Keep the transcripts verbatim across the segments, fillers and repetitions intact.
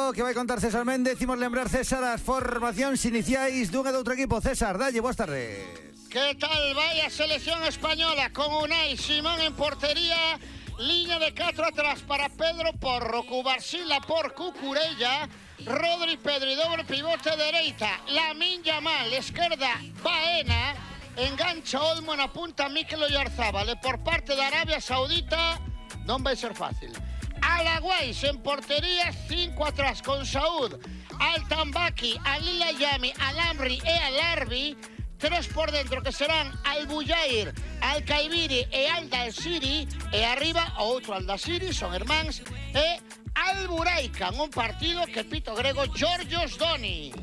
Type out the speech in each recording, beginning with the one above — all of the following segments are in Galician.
partido que vai contar César Méndez. Imos lembrar, César, as formacións iniciais dun e do outro equipo. César, dalle, boas tardes. Que tal vai a selección española con Unai Simón en portería, liña de catro atrás para Pedro Porro, Cubarsila por Cucurella, Rodri Pedro y doble pivote dereita, Lamine Yamal, esquerda Baena, engancha Olmo na punta Mikel Oyarzábal, e por parte de Arabia Saudita non vai ser fácil. Alaguais en portería, cinco atrás con Saúd, Altambaki, Alila Yami, Alamri e Alarbi. Tres por dentro que serán Albuyair, Alcaibiri e Aldasiri. E arriba o outro Aldasiri, son irmáns, e Alburaica, un partido que pito grego Georgios Donis.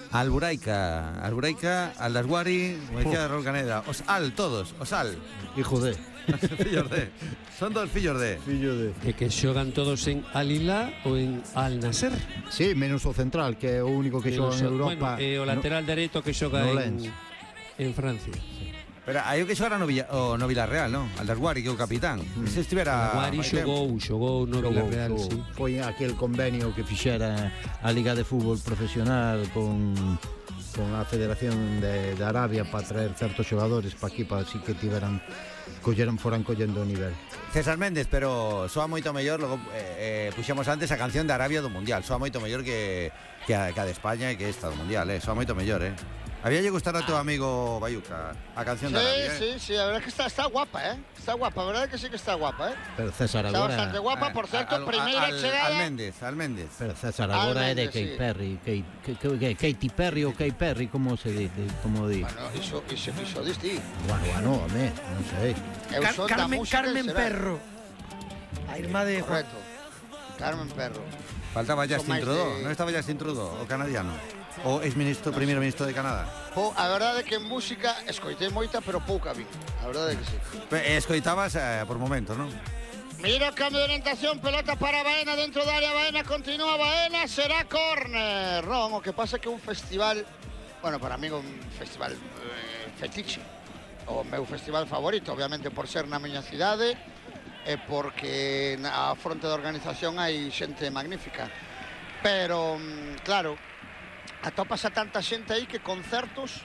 Alburaica, Alburaica, Aldasguari, como decía Raúl Caneda. Os Al, todos, os Al. Hijo de. Fillos de. Son dos fillos de. Fillo de. E que xogan todos en Al-Hilal ou en Al-Nasser. Sí, menos o central, que é o único que xoga en Europa. Bueno, e o lateral no, dereito que xoga no en, en Francia. Sí. Pero hai o que xogara no, Villa, o, no Villarreal, non? Aldasguari, que é o capitán. Mm. Se estivera... Aldasguari xogou, xogou no Villarreal, sí. Foi aquel convenio que fixera a Liga de Fútbol Profesional con... con a Federación de, de Arabia para traer certos xogadores para aquí, para así que tiveran colleran, foran collendo o nivel. César Méndez, pero soa moito mellor, logo eh, eh, puxemos antes a canción de Arabia do Mundial, soa moito mellor que, que, a, que a de España e que esta do Mundial, eh, soa moito mellor, eh. Había lle gustar a teu amigo Bayuca a canción sí, de Arabia, sí, eh? sí, sí, a verdad que está, está guapa, eh. Está guapa, a verdad que sí que está guapa, eh. Pero César está agora... Está bastante guapa, por certo, al, primeira al, chegada... Al Méndez, al Méndez. Pero César agora é de Katy Perry, Kate, Kate, Katy Perry ou Katy Perry, como se dice, como di? Bueno, iso, iso, iso diste. Bueno, bueno, home, non sei. Car Carmen, Carmen Perro. A irmá de... Correcto. Carmen Perro. Faltaba Justin Trudeau, de... non estaba Justin Trudeau, o canadiano? O ex-ministro, no primeiro ministro de Canadá? Po, a verdade é que en música escoitei moita, pero pouca vi. A verdade é que sí. Escoitabas eh, por momento, non? Mira o cambio de orientación, pelota para Baena dentro da área, Baena continúa, Baena, será córner. Non, o que pasa é que un festival, bueno, para mí un festival eh, fetiche, o meu festival favorito, obviamente por ser na miña cidade, e porque na fronte da organización hai xente magnífica. Pero, claro, atopas a tanta xente aí que concertos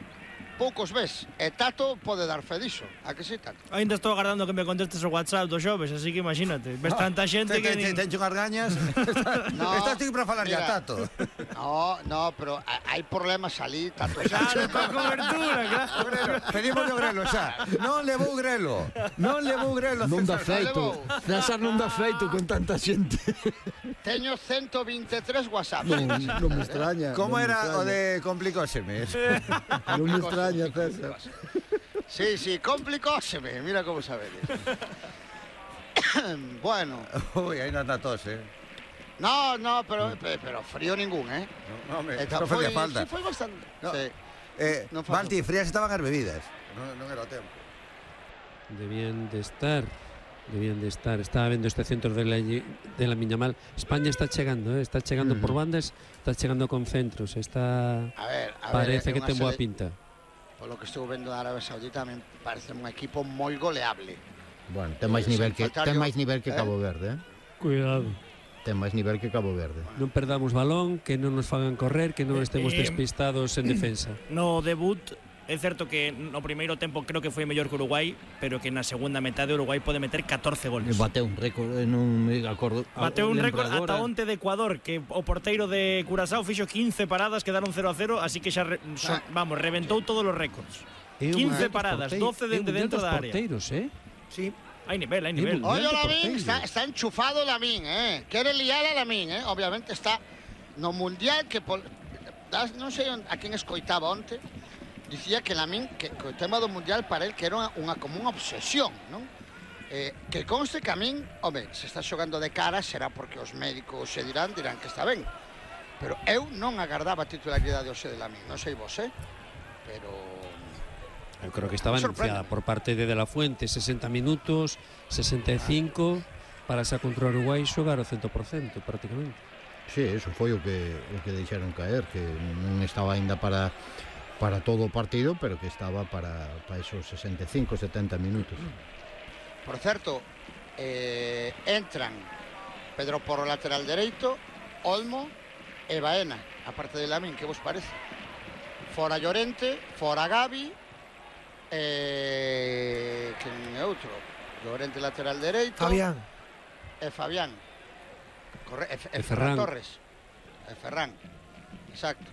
poucos ves, e Tato pode dar fe diso. A que si, Tato? Ainda estou agardando que me contestes o WhatsApp dos xoves, así que imagínate, ves tanta xente que... Tencho unhas gañas. Estás tú para falar ya, Tato. No, no, pero hai problemas ali, Tato. Claro, con cobertura, claro. Pedimos o grelo xa. Non levou grelo. Non levou grelo. Non dá feito. César non dá feito con tanta xente. Teño ciento vinte e tres WhatsApp. Non, non me extraña. Como era o de complicóseme? Non me extraña, César. Sí, sí, complicóseme. Mira como sabedes. Bueno. Uy, aí non anda tos, eh. No, no, pero, pero frío ningún, eh. No, home, non facía falta. Sí, foi bastante. No. Sí. Eh, no Balti, frías estaban as bebidas. Non, non era o tempo. Debían de estar... Debían de estar, estaba vendo este centro de la, de la Miñamal. España está chegando, eh? está chegando uh -huh. por bandas, está chegando con centros, está a ver, a parece ver, que ten boa pinta. Polo que estou vendo da Arabia Saudita, me parece un equipo moi goleable. Bueno, ten máis nivel que ten máis nivel que Cabo Verde, eh? Cuidado. Ten máis nivel que Cabo Verde. Non perdamos balón, que non nos fagan correr, que non estemos eh, despistados en defensa. No debut é certo que no primeiro tempo creo que foi mellor que Uruguai, pero que na segunda metade Uruguai pode meter catorce goles. Bateu un récord en un acordo. Bateu un récord ata onte de Ecuador, que o porteiro de Curazao fixo quince paradas, quedaron cero a cero, así que xa re, so, vamos, reventou todos os récords. quince paradas, doce dende dentro da área. Porteiros, eh? Sí. Hai nivel, hai nivel. Oye, Lamine, está, está enchufado Lamine, eh. Quere liar a Lamine, eh. Obviamente está no Mundial que pol... non sei a quen escoitaba onte. Dicía que Lamine, que, que o tema do Mundial para él que era unha, unha como unha obsesión, non? Eh, que conste que a min, home, se está xogando de cara será porque os médicos se dirán, dirán que está ben. Pero eu non agardaba a titularidade hoxe de Lamine, non sei vos, eh? Pero... Eu creo que estaba anunciada por parte de De La Fuente, sesenta minutos, sesenta e cinco, para xa contra o Uruguai xogar o cento por cento prácticamente. Sí, eso foi o que, o que deixaron caer, que non estaba ainda para... para todo o partido, pero que estaba para, para esos sesenta e cinco, setenta minutos. Por certo, eh, entran Pedro Porro lateral dereito, Olmo e Baena, a parte de Lamín, que vos parece? Fora Llorente, fora Gavi, e... quen é outro? Llorente lateral dereito. Fabián. E Fabián. Corre... E, e, e Ferran Ferran Torres. E Ferran. Exacto.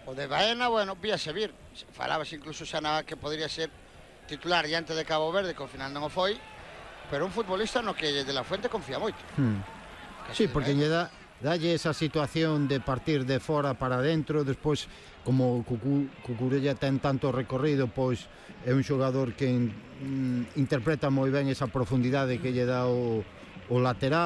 O de Baena, bueno, víase vir. Falabas incluso xa na que podría ser titular diante de Cabo Verde, que ao final non o foi, pero un futbolista no que de la Fuente confía moito. Hmm. Sí, porque lle dá dalle esa situación de partir de fora para dentro, despois como Cucu, Cucurella ten tanto recorrido, pois é un xogador que mm, interpreta moi ben esa profundidade que lle dá o, o lateral.